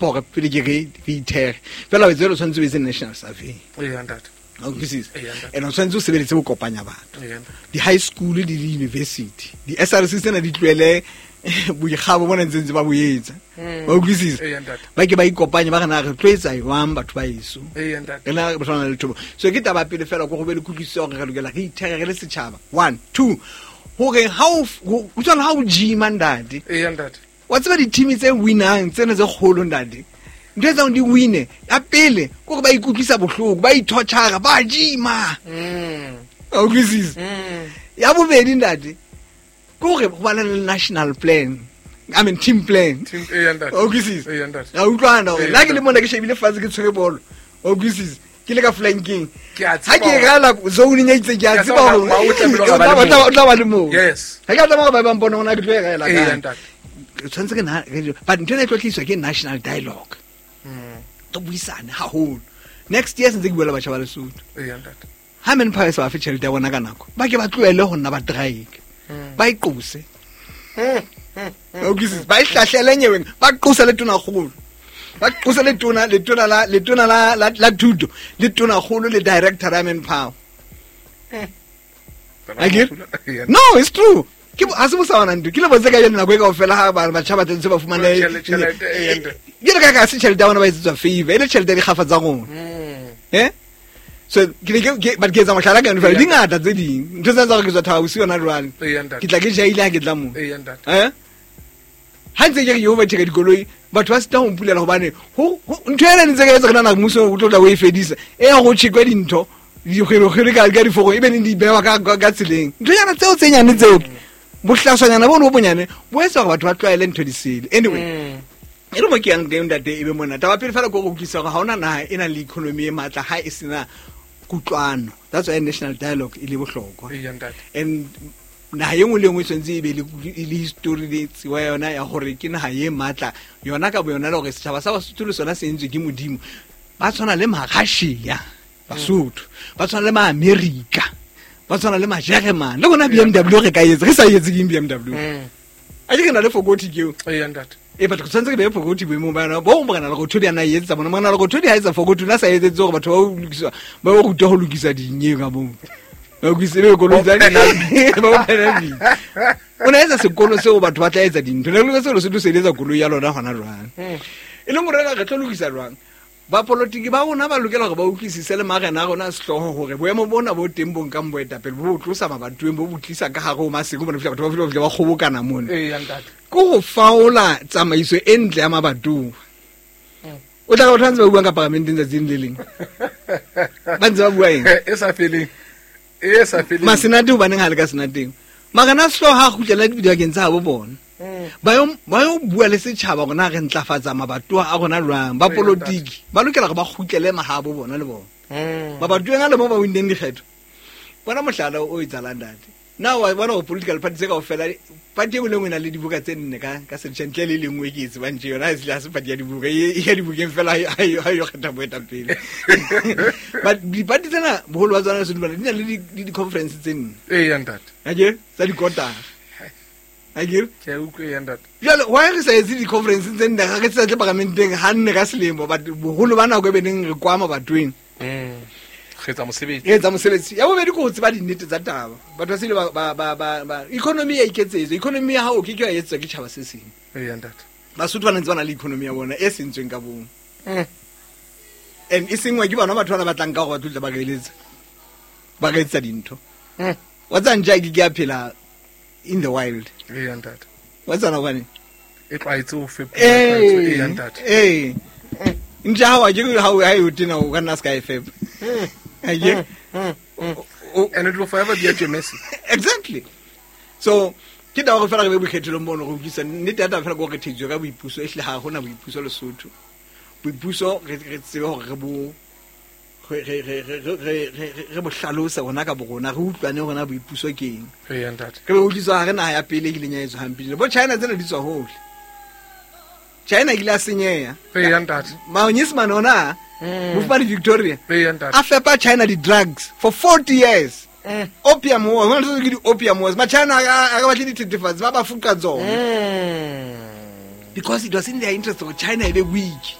Gore pele ke re re ithere fela o etse, o tshwanetse o etse national survey. Ee, ntate. A utlwisisa? Ee, ntate. And o tshwanetse o sebeletse go kopanya batho. Ee, ntate. Di-high school le di-university, di-SRC tsena di tlohele boikgabo bona ntse ntse ba bo etsa, ba utlwisisa? Ee, ntate. Ba ke ba ikopanye, ba re na re tlo etsa jwang batho ba eso. Ee, ntate. Re na re tshwana le thobo. So ke taba pele fela ko go be le kutlwisiso gore re lokela re ithere re le setšhaba. One, two, gore ha o tshwana ha o gima, ntate. Ee, ntate. Wa tseba di-team tse winang tsena tse kgolo, ntate, ntho e tsang di wine ya pele ke gore ba ikutlwisa bohloko, ba ithotšhara, ba gima. A utlwisisa? Ya bobedi, ntate, ke gore go bana le national plan, I mean team plan. Ee, ntate. Wa utlwisisa? Ee, ntate. Ra utlwana gore Ee, nna ke le ntate. mona ke shebile fatshe, ke tshwere bolo, wa utlwisisa, ke le ka flankeng. Ke a Ha tseba ke rala zone e itseng, ke a Ke a tseba tseba hore hore o tlamehile hore o ba le tla moo. o tla ba le moo. Ga ke a tlameha gore ba bang bona gona ke tlo e rela Ee, kae. ntate. Re tshwanetse ke but ntho ena e tlo tliswa ke national dialogue, re buisane haholo. Next year sentse ke bua le batjha ba Lesotho. Ee, ntate. Ha Manpower sa ba fe tjhelete ya bona ka nako, ba ke ba tlohele ho nna ba strike, ba e qose. Wa utlwisisa? Ba e hlahlele nyeweng, ba qose le tonakgolo, ba qose letona letona la thuto, le tonakgolo, le director ya Manpower. Akere? Ee, No, it's true. Ke ha se bosawana ntho ke le botse ka jeno. Nako e kaofela ha batjha ba tlentse ba fumane Tjhelete, ee, ntate. Jalo ka se tjhelete ya bona ba etsetswa favor, e le tjhelete ya dikgafa tsa rona. So ke ne but ke etsa mohlala ka yone fela, di ngata tse ding ntho tsa gore ke tswa Thaba Bosiu yona jwale. Ee, ntate. Ke tla ke jaile ha ke tla moo. Ee, ntate. Ha ntse ke re ke overtake dikoloi, batho ba sita ho mpulela gobane ntho ena ntse ka etsa re nana mmuso o tlo tla o e fedisa e ya go tšhekwe dintho dikgwere ka diforo e be neng di bewa ka tseleng. Nthonyana tseo tse nyane tseo, bohlaswanyana bono bo bonyane bo etsa gore batho ba tlwaele ntho di sele. Anyway, e re mo ke yang teng, ntate, e be mona. Taba pele fela ke go utlwisa gore ga ona naga e nang le economy e maatla ga e sena kutlwano. That's why national dialogue e le bohlokwa. Ee, ntate. And naga e nngwe le nngwe e tshwanetse e be le history le tsebo ya yona ya gore ke naga e maatla yona ka bo yona, le gore setšhaba sa Basotho le sona se entswe ke Modimo. Ba tshwana le Marussia Basotho, ba tshwana le Maamerika, ba tshwana le Majeremane. Le rona BMW re ka etse, re sa etse keng BMW? A ke re na le fokoti keo. Ee, ntate. E batho tshwanetse ke beye fokoti boemong ba yona bo morena Lerothodi a na e etsetsa bona. Morena Lerothodi ha etsa fokoti, o na sa etsetse gore batho ba o lokisa, ba o ruta ho lokisa dinyeo ka moo. Ba lokise be koloi tsa Bo ba o penalty. O na etsa sekolo seo batho ba tla etsa dintho ne le selo se tlo sebetsa koloi ya lona hona jwang, e leng gore re tlo lokisa jwang. Bapolotiki ba rona ba lokela gore ba utlwisise le marena a rona a sehlooho gore boemo bona bo teng bo nkang boetapele bo bo tlosa mabatoweng, bo bo tlisa ka gare ho maseko bona, fihla batho ba fihla ba kgobokana mona. Ee, ntate. Ke go faola tsamaiso e ntle ya mabatowa. O tla ka batho ba ntse ba buang ka paramenteng tsatsing le leng, ba ntse ba bua eng? E sa feleng, e sa feleng. Masenate, hobaneng ha le ka senateng? Marena a sehlooho ha a kgutlela dibakeng tsa habo bona, ba yo bua le setšhaba gore na re ntlafatsa mabatowa a rona jwang. Ba politiki ba lokela gore ba kgutlele mahabo bona le bona mabatoweng a le mo ba winneng dikgetho bona. Mohlala o etsalang, ntate, na wa bona gore political party tse kaofela, party e nngwe le nngwe e na le dibuka tse nne ka setšha ntle le e lengwe ke e tsebang tje yona ha se party ya dibuka, e ya dibukeng fela ha e yo kgetha boetapele. But di-party tsena boholo ba tsona Lesotho di na le di-conference tse nne. Ee, ntate. Akere tsa dikotara, akere? Ke a utlwa, ee, ntate. Jale why re sa etse di-conference tse nne ga re sa tle paramenteng ga nne ka selemo, but boholo ba nako e beneng re kwa mabatoweng? Re etsa mosebetsi. Re etsa mosebetsi. Ya bobedi ke ho tseba dinnete tsa taba. Batho ba sele ba economy ya iketsetswa. Economy ya hao ke ke ya etswa ke tjhaba se seng. Ee, ntate. Basotho ba ntse ba na le economy ya bona e sentsweng ka bong, and e sengwa ke bona batho bana ba tlang ka gore ba tlotla ba re eletsa, ba re etsetsa dintho. Wa tseba ntja ke a phela in the wild. Ee, ntate. Wa tsana hobane E tlwaetse ho fepa. Ee, ntate. Ee, ntja hao a ke ha e o tena, o ka nna se ka e fepa akere? And it will forever be at your mercy. Exactly. So ke taba gore fela re be boikgethelong bono go utlwisa nnete ya taba fela ke gore re thetswe ka boipuso. Ehlile ga gona boipuso Lesotho. Boipuso re tsebe gore re bo re re re re re re re bo hlalosa rona ka borona, re utlwane rona boipuso ke eng. Ee, ntate. Re be utlwiswa ga re naha ya pele e kileng ya etswa hampile. Bo China tsena di tswa hole, China e kile a senyeha. Ee, ntate. Manyesemane ona, mofumane Victoria Ee, ntate. a fepa China di-drugs for 40 years, opium wars. Hona le tse ke di-opium wars. Ma-China a ka batle dithethefatsi, ba ba fuka tsona. Because it was in their interest gore China e be weak.